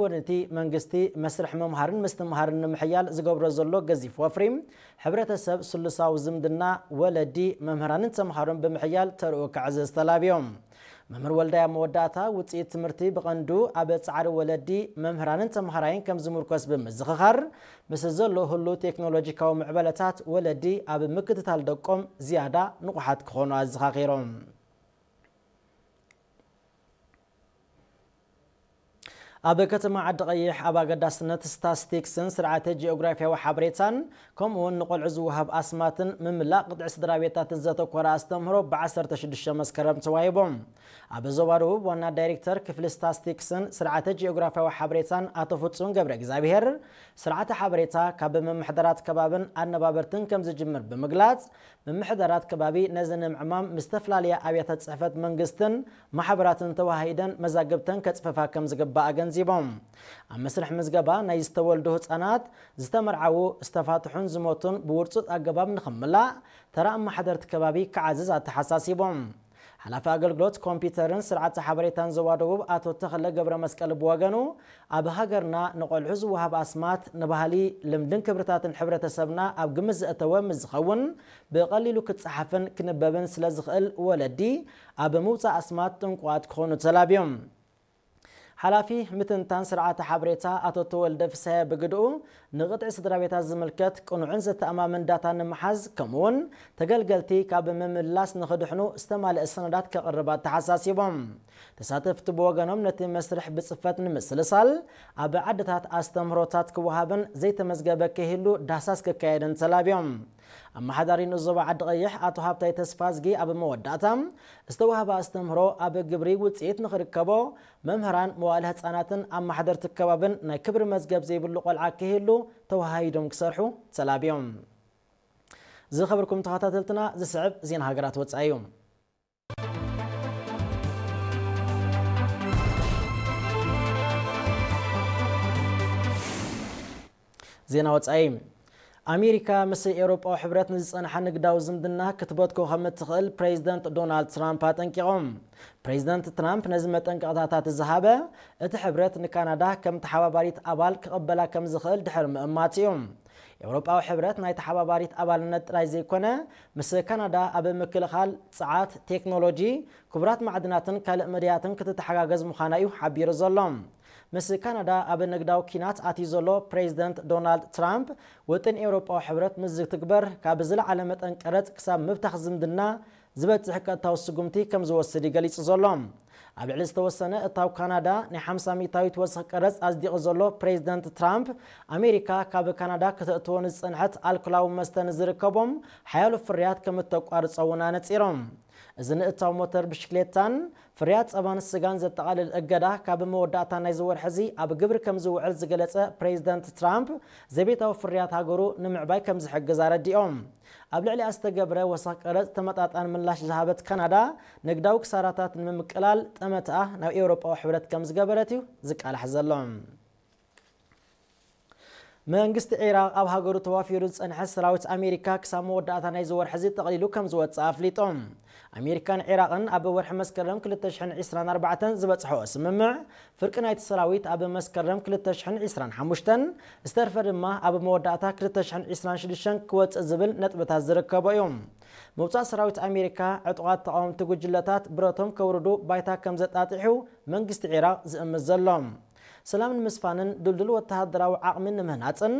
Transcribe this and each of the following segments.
ወንንቲ መንግስቲ መስርሕ ምምሃርን ምስትምሃርን ንምሕያል ዝገብሮ ዘሎ ገዚፍ ወፍሪ፣ ሕብረተሰብ ስሉሳዊ ዝምድና ወለዲ፣ መምህራንን ተምሃሮን ብምሕያል ተርኡ ክዕዘዝ ተላብዮም። መምህር ወልዳይ ኣብ መወዳእታ፣ ውፅኢት ትምህርቲ ብቐንዱ ኣብ ፃዕሪ ወለዲ፣ መምህራንን ተምሃራይን ከም ዝምርኮስ ብምዝኽኻር፣ ምስ ዘሎ ህሉ ቴክኖሎጂካዊ ምዕበለታት ወለዲ ኣብ ምክትታል ደቆም ዝያዳ ንቑሓት ክኾኑ ኣዘኻኺሮም። ኣብ ከተማ ዓዲ ቀይሕ ኣብ ኣገዳስነት ስታስቲክስን ስርዓተ ጂኦግራፊያዊ ሓበሬታን ከምኡ እውን ንቆልዑ ዝወሃብ ኣስማትን ምምላእ ቅጥዒ ስድራ ቤታትን ዘተኮረ ኣስተምህሮ ብ ዓሰርተ ሽዱሽተ መስከረም ተዋሂቦም። ኣብ ዞባ ደቡብ ዋና ዳይሬክተር ክፍሊ ስታስቲክስን ስርዓተ ጂኦግራፊያዊ ሓበሬታን ኣቶ ፍጹም ገብረ እግዚኣብሔር፣ ስርዓተ ሓበሬታ ካብ ምምሕዳራት ከባብን ኣነባበርትን ከም ዝጅምር ብምግላጽ፣ ምምሕዳራት ከባቢ ነዚ ንምዕማም ምስ ዝተፈላለያ ኣብያተ ጽሕፈት መንግስትን ማሕበራትን ተወሃሂደን መዛግብተን ከጽፈፋ ከም ዝግባእ ኣገንዚቦም። ኣብ መስርሕ ምዝገባ ናይ ዝተወልዱ ህጻናት፣ ዝተመርዓዉ፣ ዝተፋትሑን ዝሞቱን ብውርጹጥ ኣገባብ ንኽምላእ ተራ ኣመሓደርቲ ከባቢ ክዓዝዝ ኣተሓሳሲቦም። ሓላፊ ኣገልግሎት ኮምፒውተርን ስርዓተ ሓበሬታን ዞባ ደቡብ ኣቶ ተኽለ ገብረ መስቀል ብወገኑ፣ ኣብ ሃገርና ንቆልዑ ዝወሃብ ኣስማት ንባህሊ፣ ልምድን ክብርታትን ሕብረተሰብና ኣብ ግምት ዘእተወ ምስ ዝኸውን፣ ብቐሊሉ ክጸሓፍን ክንበብን ስለ ዝኽእል ወለዲ ኣብ ምውጻእ ኣስማት ጥንቁቓት ክኾኑ ተላብዮም። ሓላፊ ምትንታን ስርዓተ ሓበሬታ ኣቶ ተወልደ ፍስሐ ብግድኡ፣ ንቕጥዒ ስድራ ቤታት ዝምልከት ቅኑዕን ዘተኣማምን ዳታ ንምሓዝ፣ ከምኡውን ተገልገልቲ ካብ ምምላስ ንኽድሕኑ ዝተማልአ ሰነዳት ከቕርብ ኣተሓሳሲቦም። ተሳተፍቲ ብወገኖም ነቲ መስርሕ ብጽፈት ንምስልሳል ኣብ ዓድታት ኣስተምህሮታት ክወሃብን ዘይተመዝገበ ከይህሉ ዳህሳስ ክካየድን ተላብዮም። ኣመሓዳሪ ንኡስ ዞባ ዓዲ ቀይሕ ኣቶ ሃብታይ ተስፋዝጊ ኣብ መወዳእታ ዝተዋህበ ኣስተምህሮ ኣብ ግብሪ ውጽኢት ንኽርከቦ መምህራን፣ መዋእለ ህጻናትን ኣመሓደርቲ ከባብን ናይ ክብሪ መዝገብ ዘይብሉ ቆልዓ ከይህሉ ተወሃሂዶም ክሰርሑ ተላብዮም። ዝኸበርኩም ተኸታተልትና፣ ዝስዕብ ዜና ሃገራት ወጻኢ እዩ። ዜና ወጻኢ። ኣሜሪካ ምስ ኤውሮጳዊ ሕብረት ንዝጸንሓ ንግዳዊ ዝምድና ክትበትኮ ከም እትኽእል ፕሬዚደንት ዶናልድ ትራምፕ ኣጠንቂቖም። ፕሬዚደንት ትራምፕ ነዚ መጠንቀቕታታት ዝሃበ፣ እቲ ሕብረት ንካናዳ ከም ተሓባባሪት ኣባል ክቕበላ ከም ዝኽእል ድሕሪ ምእማት እዩ። ኤውሮጳዊ ሕብረት ናይ ተሓባባሪት ኣባልነት ጥራይ ዘይኮነ፣ ምስ ካናዳ ኣብ ምክልኻል፣ ጸዓት፣ ቴክኖሎጂ፣ ክቡራት ማዕድናትን ካልእ መዳያትን ክትተሓጋገዝ ምዃና እዩ ሓቢሩ ዘሎ። ምስ ካናዳ ኣብ ንግዳዊ ኲናት ኣትዩ ዘሎ ፕሬዚደንት ዶናልድ ትራምፕ፣ ውጥን ኤውሮጳዊ ሕብረት ምስ ዝትግበር፣ ካብ ዝለዓለ መጠን ቀረጽ ክሳብ ምብታኽ ዝምድና ዝበጽሕ ቀጥታዊ ስጉምቲ ከም ዝወስድ እዩ ገሊጹ ዘሎ። ኣብ ልዕሊ ዝተወሰነ እታው ካናዳ ናይ ሓምሳ ሚእታዊት ወሰኽ ቀረጽ ኣጽዲቑ ዘሎ ፕሬዚደንት ትራምፕ፣ ኣሜሪካ ካብ ካናዳ ከተእትዎ ንዝጸንሐት ኣልኮላዊ መስተ ንዝርከቦም ሓያሎ ፍርያት ከም እተቋርጾ እውን ኣነጺሮም። እዚ ንእታው ሞተር ብሽክሌታን ፍርያት ጸባን ስጋን ዘጠቓልል እገዳ ካብ መወዳእታ ናይዚ ወርሒ እዚ ኣብ ግብሪ ከም ዝውዕል ዝገለጸ ፕሬዚደንት ትራምፕ፣ ዘቤታዊ ፍርያት ሃገሩ ንምዕባይ ከም ዝሕግዝ ኣረዲኦም። ኣብ ልዕሊኣ ዝተገብረ ወሰኽ ቀረጽ ተመጣጣኒ ምላሽ ዝሃበት ካናዳ፣ ንግዳዊ ክሳራታት ንምምቅላል ጠመትኣ ናብ ኤውሮጳዊ ሕብረት ከም ዝገበረት እዩ ዝቃላሕ ዘሎ። መንግስቲ ዒራቕ ኣብ ሃገሩ ተዋፊሩ ዝጸንሐ ሰራዊት ኣሜሪካ ክሳብ መወዳእታ ናይዚ ወርሒ እዚ ጠቕሊሉ ከም ዝወጽእ ኣፍሊጡ። ኣሜሪካን ዒራቕን ኣብ ወርሒ መስከረም ክልተ ሽሕን ዕስራን ኣርባዕተን ዝበጽሐኦ ስምምዕ፣ ፍርቂ ናይቲ ሰራዊት ኣብ መስከረም ክልተ ሽሕን ዕስራን ሓሙሽተን፣ ዝተርፈ ድማ ኣብ መወዳእታ ክልተ ሽሕን ዕስራን ሽዱሽተን ክወጽእ ዝብል ነጥብታት ዝርከቦ እዩ። ምውጻእ ሰራዊት ኣሜሪካ፣ ዕጡቓት ተቓወምቲ ጉጅለታት ብረቶም ከውርዱ ባይታ ከም ዘጣጢሑ መንግስቲ ዒራቕ ዝእምት ዘሎ። ሰላም ንምስፋንን ድልዱል ወተሃደራዊ ዓቕሚ ንምህናጽን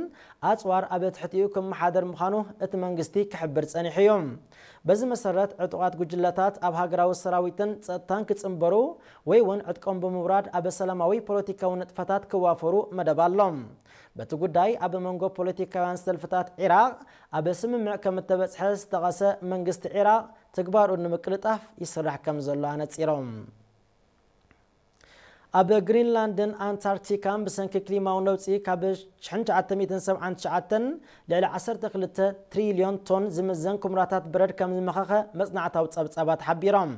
ኣጽዋር ኣብ ትሕቲኡ ክመሓደር ምዃኑ እቲ መንግስቲ ክሕብር ጸኒሑ እዩ። በዚ መሰረት፣ ዕጡቓት ጉጅለታት ኣብ ሃገራዊ ሰራዊትን ጸጥታን ክጽንበሩ ወይ እውን ዕጥቆም ብምውራድ ኣብ ሰላማዊ ፖለቲካዊ ንጥፈታት ክዋፈሩ መደብ ኣሎ። በቲ ጉዳይ፣ ኣብ መንጎ ፖለቲካውያን ሰልፍታት ዒራቕ ኣብ ስምምዕ ከም እተበጽሐ ዝጠቐሰ መንግስቲ ዒራቕ፣ ትግባሩ ንምቅልጣፍ ይስራሕ ከም ዘሎ ኣነጺሮም። ኣብ ግሪንላንድን ኣንታርክቲካን ብሰንኪ ክሊማዊ ነውጺ ካብ ሽሕን ትሽዓተ ሚእትን ሰብዓን ትሽዓተን ልዕሊ ዓሰርተ ክልተ ትሪልዮን ቶን ዝምዘን ኩምራታት በረድ ከም ዝመኸኸ መጽናዕታዊ ጸብጻባት ሓቢሮም።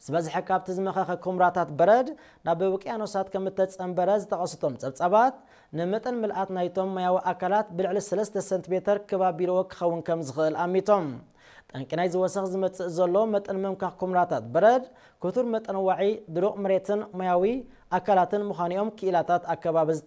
ዝበዝሐ ካብቲ ዝመኸኸ ኩምራታት በረድ ናብ ውቅያኖሳት ከም እተጸንበረ ዝጠቐሱ እቶም ጸብጻባት፣ ንመጠን ምልኣት ናይቶም ማያዊ ኣካላት ብልዕሊ ሰለስተ ሰንቲሜተር ክብ ኣቢልዎ ክኸውን ከም ዝኽእል ኣሚቶም። ጠንቂ ናይዚ ወሰኽ ዝመጽእ ዘሎ መጠን ምምካኽ ኩምራታት በረድ፣ ክቱር መጠን ዋዒ ድሩቕ መሬትን ማያዊ ኣካላትን ምዃኑ እዮም ክኢላታት ኣከባቢ